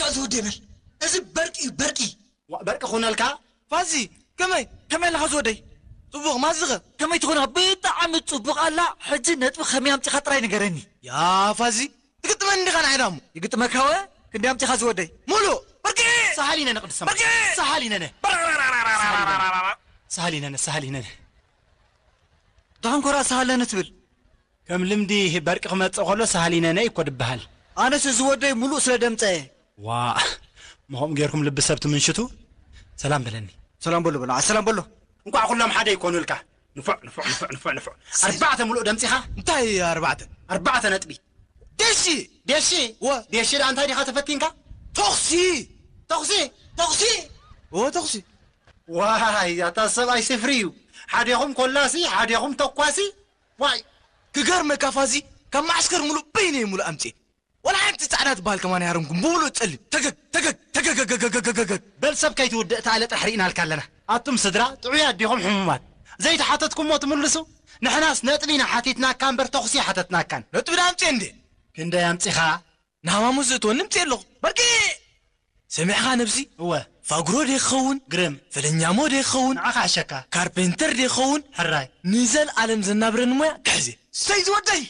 እዚ ወደይ በል። እዚ በርቂ እዩ፣ በርቂ። ዋ፣ በርቂ ኩነልካ። ፋዚ፣ ከመይ? ከመይ ኣለኻ ዝወደይ? ጽቡቕ፣ ማዝኸ? ከመይ ትኾንኻ? ብጣዕሚ ጽቡቕ ኣላ። ሕጂ ነጥቢ ከመይ ኣምጺኻ ጥራይ ንገረኒ። ያ ፋዚ፣ ትግጥመኒ ዲኻ ንዓይ ዳሞ? ይግጥመካ ወ? ክንደይ ኣምጺኻ ዝወደይ? ሙሉእ። በርቂ! ሰሃሊነ ንቅድስተ ማርያም። በርቂ! ሰሃሊነ ነ። ሰሃሊነ ነ፣ ሰሃሊነ ነ። ደሓን ኮራ ሰሃለነ ትብል። ከም ልምዲ በርቂ ክመጽእ ከሎ ሰሃሊነ ነ እኮ ድበሃል። ኣነስ እዚ ወደይ ሙሉእ ስለ ደምጸ እየ። ዋ፣ ምኸም ጌርኩም ልቢ ሰብ ትምንሽቱ። ሰላም በለኒ። ሰላም በሎ በሎ፣ ሰላም በሎ። እንቋዕ ኩሎም ሓደ ይኮኑልካ። ንፉዕ ንፉዕ ንፉዕ ንፉዕ ንፉዕ። ኣርባዕተ ሙሉእ ደምጺኻ። እንታይ ኣርባዕተ? ኣርባዕተ ነጥቢ። ደሺ! ደሺ! ወ- ደሺ ደኣ እንታይ ዲኻ ተፈቲንካ? ተኹሲ! ተኹሲ! ተኹሲ! ወ ተኹሲ! ዋይ ኣታ ሰብኣይ ስፍሪ እዩ። ሓዴኹም ኮላሲ ሓዴኹም ተኳሲ። ዋይ ክገርመካ ፋዚ፣ ካብ ማዕስከር ሙሉእ በይነይ ሙሉእ ኣምፅእ። ወላ ሓንቲ ፃዕዳ ትበሃል ከማን ያረምኩም ብሙሉእ ፀሊም ተገግ ተገግ ተገገገገገገገግ። በል ሰብ ከይትውድእ ተኣለ ጥራሕ ርኢናልካ ኣለና። ኣቱም ስድራ ጥዑያት ዲኹም ሕሙማት? ዘይተሓተትኩሞ ትምልሱ? ንሕናስ ነጥቢ ኢና ሓቲትናካ እምበር ተኹሲ ሓተትናካን። ነጥቢ ዳ ኣምፅእ እንዴ? ክንደይ ኣምፂኻ? ንሃማሙ ዘእትወኒ ምፅእ ኣለኹ። በርቂ! ሰሚዕኻ ነብሲ? እወ። ፋጉሮ ዶ ይኸውን? ግርም። ፈለኛሞ ዶ ይኸውን? ንዓኻ ኣሸካ። ካርፔንተር ዶ ይኸውን? ሕራይ። ንዘልኣለም ዘናብረኒ ሞያ ክሕዜ። ሰይ ዝወደይ!